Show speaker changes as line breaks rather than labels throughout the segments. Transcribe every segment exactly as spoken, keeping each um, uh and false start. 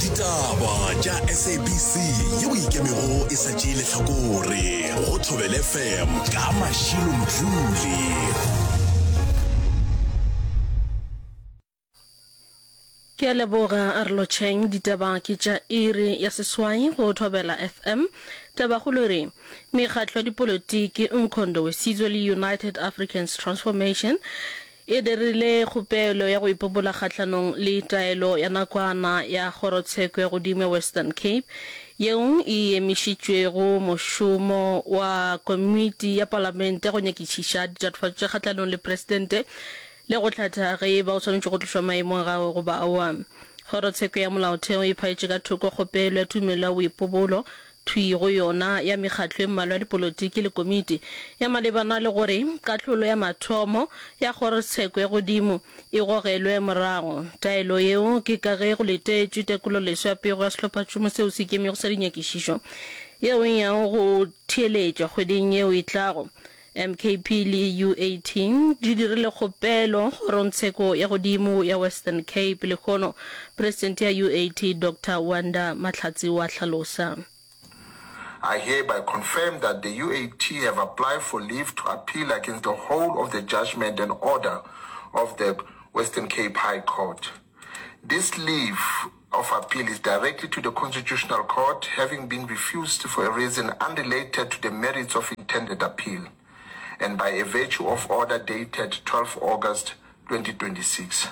Ditaba tša S A B C yeo ikemego e sa tšee lehlakore go Thobela F M ka Mashilo Mdluli.
Ke a leboga, a re lotšheng. Ditaba ke tša iri ya seswai go Thobela F M. Tabakgolo e re mekgatlo ya dipolotiki Umkhonto weSizwe le United Africans Transformation e dirile kgopelo ya go ipobola kgahlanong le taelo ya nakwana ya kgorotsheko ya godimo ya Western Cape yeo e emišitšwego mošomo wa komiti ya palamente go nyakišiša ditatofatšo tša kgahlanong le presidente le go hlatha ge e ba o swanetše go tlošwa maemong a gagwe goba aowa. Kgorotsheko ya Molaotheo e phaetše ka thoko kgopelo ya tumelelo ya boipobolo thwii go yona ya mekgatlo e mmalwa ya dipolotiki le komiti ya malebana le gore kahlolo ya mathomo ya kgorotsheko ya godimo e gogelwe morago. Taelo yeo ke ka ge go letetšwe tekololeswa ya pego ya sehlophatšhomo seo se ikemego sa dinyakišišo yeo e yago go theeletšwa kgweding yeo e tlago. M K P le U A T di dirile kgopelo kgorongtsheko ya godimo ya Western Cape lehono. Presidente ya U A T Doctor Wanda Mahlatsi wa hlalosa.
I hereby confirm that the U A T have applied for leave to appeal against the whole of the judgment and order of the Western Cape High Court. This leave of appeal is directly to the Constitutional Court, having been refused for a reason unrelated to the merits of intended appeal, and by a virtue of order dated twelve August twenty twenty-six.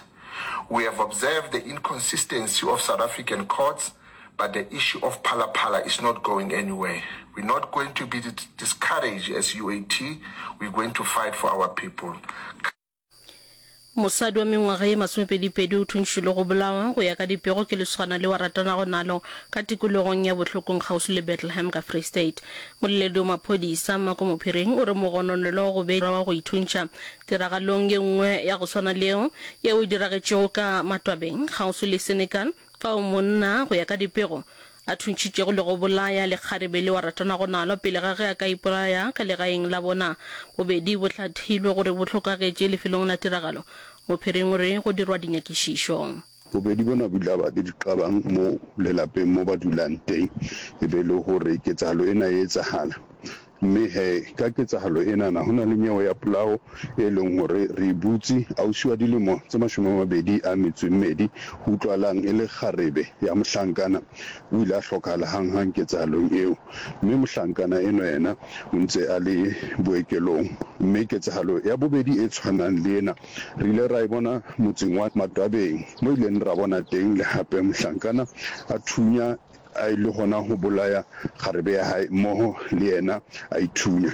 We have observed the inconsistency of South African courts, but the issue of Phala Phala is not going anywhere. We're not going to be discouraged as U A T. We're going to fight for our people.
Mosadi wa mengwaga ye masomepedipedi o thuntšhilwe go bolawa go ya ka dipego ke lesogana leo a ratanago nalo ka tikologong ya Bohlokong kgauswi le Bethlehem ka Free State. Moleledi wa maphodisa Mako Mophiring o re mogononelwa o gobetše wa go ithuntšha tiragalong ye nngwe ya go swana le yeo yeo e diragetšego ka Matwabeng kgauswi le Senekal fao monna go ya ka dipego a thuntšhitšego le go bolaya lekgarebe leo a ratanago nalo pele ga ge a ka ipolaya ka legaeng la bona. Bobedi bo hlathilwe gore bo hlokagetše lefelong la tiragalo. Mophiring o re go dirwa dinyakišišo.
Bobedi bona bo ile ba le diqabang mo lelapeng mo ba dulang teng, e be le gore ketsahalo ena e etsahala. Mme he, ka ketsahalo enana ho na le nyewe ya polao e leng hore re e butse. Ausi wa dilemo tse mashome a mabedi a metso e mmedi, ho utlwalang e le kgarebe ya mohlankana, o ile a hlokahala hanghang ketsahalong eo. Mme mohlankana enwa yena o ntse a le boekelong. Mme ketsahalo ya bobedi e tshwanang le ena re ile ra e bona motseng wa Matwabeng, mo ileng ra bona teng le hape mohlankana a thunya a e le gona go bolaya kgarebe ya hae mmogo le yena a ithunya.